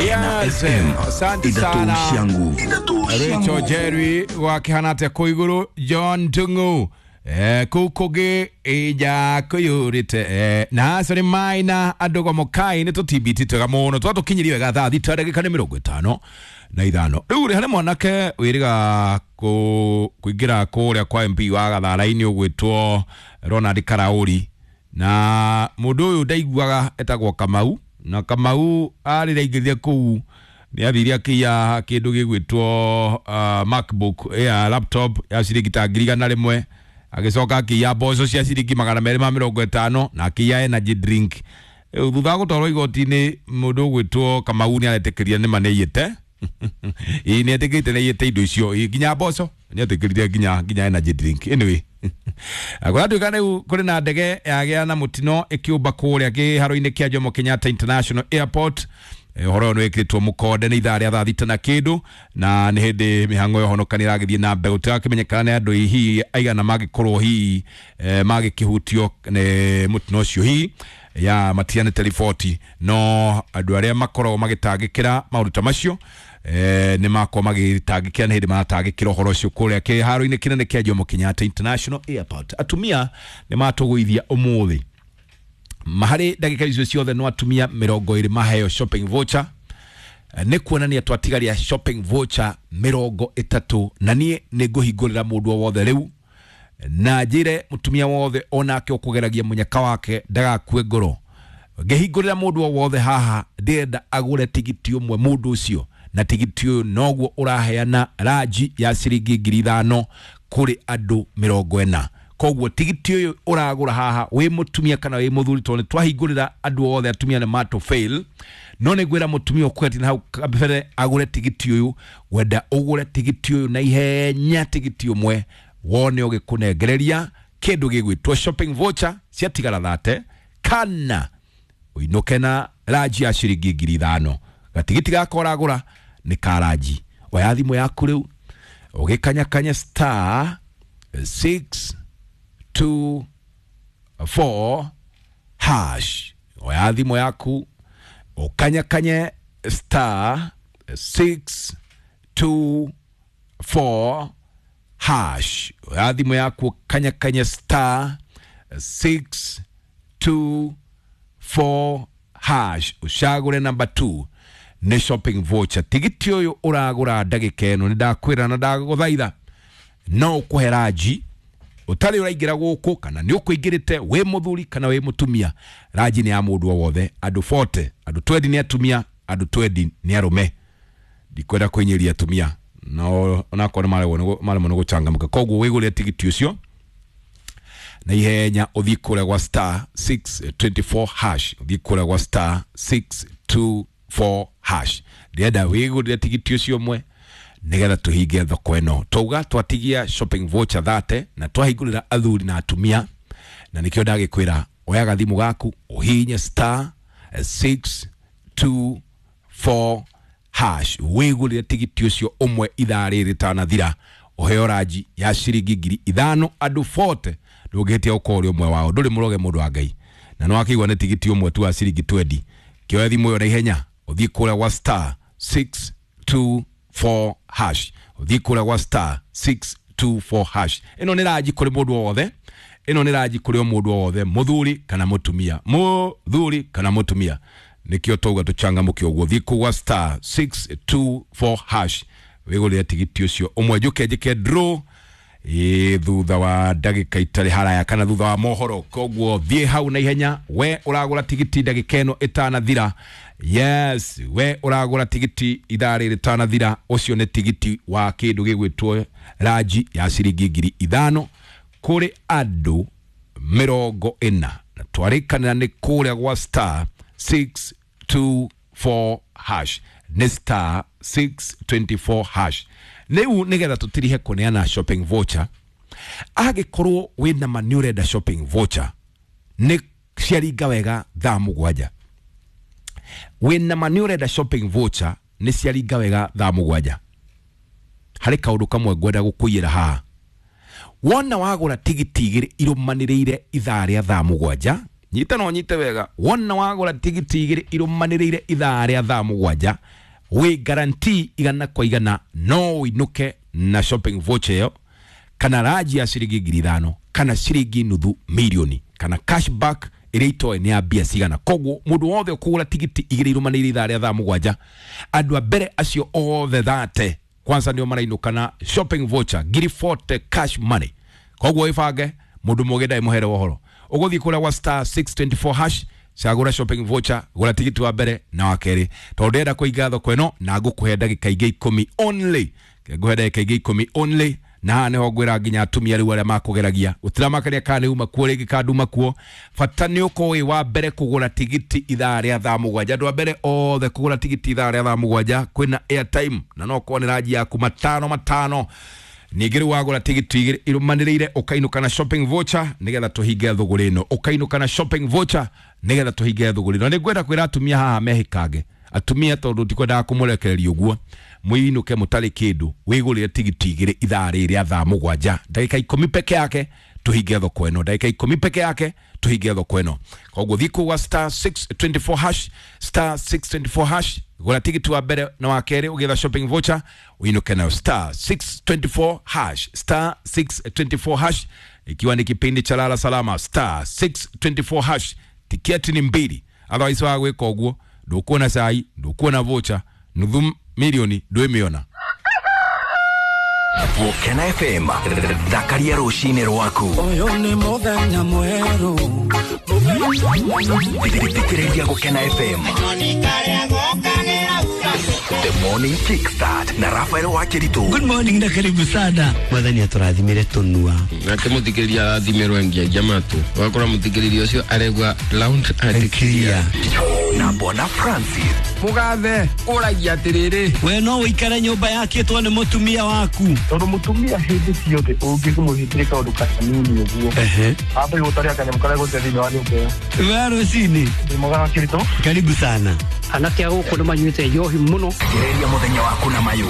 Kena Yes, FM asante sana. inatuishia nguvu. Rachel Jerry wakihana atia kũ igũrũ John Tungu kũu kũngĩ ija kũiyũrĩte na acio nĩ maina andũ gomokai nĩ tũtibiti twega mũno twatũkinyirie wega thaa 6 ndagĩka nĩ 55. Rĩu rĩ harĩ mwanake wĩrĩga kũingĩra kũrĩa kwa MP wa Gathara-inĩ ũgwĩtwo Ronald Karaũri, na mũndũ ũyũ ndaiguaga etagwo Kamau, na Kamau arĩrĩa aingĩrire kũu nĩ athire akĩiya kĩndũ gĩgwĩtwo MacBook ya laptop ya ciringi ta 100,000, agĩcoka akĩiya mboco cia ciringi 250 na akĩiya energy drink. Rĩu thutha wa gũtwarwo igoti-inĩ mũndũ ũgwĩtwo Kamau nĩ aretĩkĩria nĩma nĩ aiyĩte. Ĩĩ, nĩ etĩkĩrĩte nĩ aiyĩte indo icio. Ĩĩ, nginya mboco nĩ etĩkĩrire, nginya energy drink. Anyway, kũratuĩka rĩu kũrĩ na ndege yagĩa na mũtino ĩkĩũmba kũrĩa kĩharo-inĩ kĩa Jomo Kenyatta International Airport. Ũhoro ũyũ nĩ wĩkĩrĩtwo mũkonde nĩ ithaa rĩa thaa 6 na kĩndũ, na nĩ hĩndĩ mĩhang'o ya ũhonokania ĩragĩthiĩ na mbere. Gũtirakĩmenyekana nĩ andũ hihi aigana mangĩkorwo hihi magĩkĩhutio nĩ mũtino ũcio, hihi ya matianĩte riboti, no andũ arĩa makoragwo magĩtangĩkĩra maũndũ ta macio nĩ makorwo magĩtangĩkĩra, nĩ hĩndĩ maratangĩkĩra ũhoro ũcio kũrĩa kĩharo-inĩ kĩnene kĩa Jomo Kenyatta International Airport. Atumia nĩ matũgũithia ũmũthĩ harĩ ndagĩka icio ciothe no atumia 20 maheo shopping voucher. Nĩ kuonania twatigaria shopping voucher 30, na niĩ nĩ ngũhingũrĩra mũndũ o wothe rĩu na njĩre mũtumia wothe onake ũkũgeragia mũnyaka wake ndagakue ngoro. Ngĩhingũrĩra mũndũ o wothe haha ndĩrenda agũre tigiti ũmwe mũndũ ũcio, na tigiti ũyũ noguo ũraheana ranji ya ciringi 5,000 kũrĩ andũ 40. Koguo tigiti ũyũ ũragũra haha wĩ mũtumia kana wĩ mũthuri, tondũ nĩ twahingũrĩra andũ othe atumia nĩ matũ fail, no nĩ ngwĩra mũtumia ũkwetina hau kabere agũre tigiti ũyũ. Wenda ũgũre tigiti ũyũ na ihenya, tigiti ũmwe wone ũgĩkũnengereria kĩndũ gĩgwĩtwo shopping voucher ciatigara 30, kana ũinũke na ranji ya ciringi 5,000. Gatigiti gaka ũragũra nĩ ka ranji. Oya thimũ yaku rĩu ũgĩkanyakanya star 6 2 4 hash. Oya thimũ yaku ũkanyakanye star 6 2 4 hash. Oya thimũ yaku ũkanyakanye star 6 2 4 hash, ũcagũre namba 2 nĩ shopping voucher. Tigiti ũyũ ũragũra ndagĩka ĩno nĩ ndakwĩra na ndagũthaitha no ũkũhe ranji ũtarĩ ũraingĩra gũkũ, kana nĩ ũkũingĩrĩte wĩ mũthuri kana wĩ mũtumia. Ranji nĩ ya mũndũ o wothe, andũ 40, andũ 20 nĩ atumia, andũ 20 nĩ arũme. Ndikwenda kũinyĩria atumia, no onakorwo nĩ maremwo nĩ gũchangamka. Koguo wĩgũrĩre tigiti ũcio na ihenya, ũthiĩ kũrĩa gwa star 624 hash, ũthiĩ kũrĩa gwa star 624 hash. Ndĩrenda wĩgũrĩre tigiti ũcio ũmwe nĩgetha tũhinge thoko ĩno. Twauga twatigia shopping voucher 30 na twahingũrĩra athuri na atumia, na nĩkĩo ndagĩkwĩra oya gathimũ gaku ũhihinye star 624 hash, wĩgũrĩre tigiti ũcio ũmwe ithaa rĩrĩ rĩtanathira, ũheo ranji ya ciringi 5,000 andũ 40. Ndũngĩhĩtia ũkorwo ũrĩ ũmwe wao, ndũrĩ mũroge mũndũ wa Ngai, na nĩ wakĩigua nĩ tigiti ũmwe tu wa ciringi 20. Kĩoya thimũ ĩyo na ihenya ũthiĩ kũrĩa gwa star 624 hash, ũthiĩ kũrĩa gwa star 624 hash. Ĩno nĩ ranji kũrĩ mũndũ o wothe, ĩno nĩ ranji kũrĩ o mũndũ o wothe, mũthuri kana mũtumia, mũthuri kana mũtumia, nĩkĩo twauga tũchangamũke ũguo. Thiĩ kũu gwa star 624 hash wĩgũrĩre tigiti ũcio ũmwe, njũke njĩke draw ĩ thutha wa ndagĩka itarĩ haraya kana thutha wa mohoro. Koguo thiĩ hau na ihenya, we ũragũra tigiti ndagĩka ĩno ĩtanathira. Yes, we ũragũra tigiti ithaa rĩrĩ rĩtanathira, ũcio nĩ tigiti wa kĩndũ gĩgwĩtwo ranji ya ciringi 5,000 kũrĩ andũ 40, na twarĩkanĩra nĩ kũrĩa gwa star 624 hash, nĩ star 624 hash. Rĩu nĩgetha tũtirihe kũneana shopping voucher, angĩkorwo wĩna ma nĩ ũrenda shopping voucher nĩ ciaringa wega thaa 7, wĩna ma nĩ ũrenda shopping voucher nĩ ciaringa wega thaa 7, harĩ kaũndũ kamwe ngwenda gũkũiyĩra haha. Wona wagũra tigiti igĩrĩ irũmanĩrĩire ithaa rĩa thaa 7. Nyita na ũnyite wega, wona wagũra tigiti igĩrĩ irũmanĩrĩire ithaa rĩa thaa 7, wĩ guarantee 100% no ũinũke na shopping voucher ĩyo, kana raji ya ciringi 5,000, kana ciringi 500,000, kana cashback ĩrĩa itoĩ nĩ ya mbia cigana. Koguo mũndũ wothe ũkũgũra tigiti igĩrĩ irũmanĩrĩire ithaa rĩa thaa 7, andũ a mbere acio othe thate kwanza nĩo marainũka na shopping voucher 40,000 cash money. Koguo ĩbange mũndũ mũgĩ ndarĩ mũhere ũhoro. Ũgũthiĩ kũrĩa gwa star 624 hash, cagũra shopping voucher, gũra tigiti wa mbere na wa kerĩ, tondũ ndĩrenda kũinga thoko ĩno na ngũkũhe ndagĩka ingĩ 10 only. Ngũhe ndagĩka ingĩ 10 only, na haha nĩho ngwĩra nginya atumia rĩu arĩa makũgeragia gũtiramakania kana nĩ uma kuo rĩngĩ kana nduma kuo, bata nĩ ũkorwo wĩ wa mbere kũgũra tigiti ithaa rĩa thaa 7. Andũ a mbere othe kũgũra tigiti ithaa rĩa thaa 7 kwĩna airtime, na no ũkorwo nĩ ranji yaku matano matano. Ningĩ rĩu wagũra tigiti igĩrĩ irũmanĩrĩire ũkainũka na shopping voucher nĩgetha tũhinge thũgũrĩ ĩno, ũkainũka na shopping voucher nĩgetha tũhinge thũgũrĩ ĩno. Nĩngwenda kwĩra atumia haha mehĩkange, atumia, tondũ tikwendaga kũmũrekereria ũguo mũinũke mũtarĩ kĩndũ, wĩgũrĩre tigiti igĩrĩ ithaa rĩrĩ rĩa thaa 7, ndagĩka 10 peke yake tũhinge thoko ĩno, ndagĩka 10 peke yake tũhinge thoko ĩno. Koguo thiĩ kũu gwa star 624 hash, star 624 hash, gũra tigiti wa mbere na wa kerĩ ũgĩetha shopping voucher ũinũke nayo, star 624 hash, star 624 hash, ikiwa ni kipindi cha lala salama, star 624 hash. Tiketi ni mbili, otherwise wa gwĩka ũguo ndũkuona cai, ndũkuona voucher, 500,000 ndwĩmĩona. Gũkena FM, thakaria rũcinĩ rwaku. Ũyũ nĩ mũthenya mwerũ. Thikĩrĩria Gũkena FM. The Morning Kickstart na Rafael Wakiritu. Good morning na karibu sana. Mwathani atũrathimire tũnua. Nake mũthikĩrĩria arathimĩrwo engiagia matũ, ũgakora mũthikĩrĩria ũcio aregua loud and clear. Na Bwana Francis. Mũgathe ũragia atĩrĩrĩ, We no ũikare nyũmba yakĩtwo nĩ mũtumia waku. Tondũ mũtumia hĩndĩ ciothe ũngĩmũhĩtĩria kaũndũ kanini ũguo, ambe gũtaria kanyamũ karĩa gũte thĩinĩ wa nyũmba ĩyo. We rũcinĩ. Ndĩ mwega wa Kirito. Karibu sana. Anake a gũkũ nĩ manyuĩte njohi mũno. Thikĩrĩria mũthenya waku na mayũ.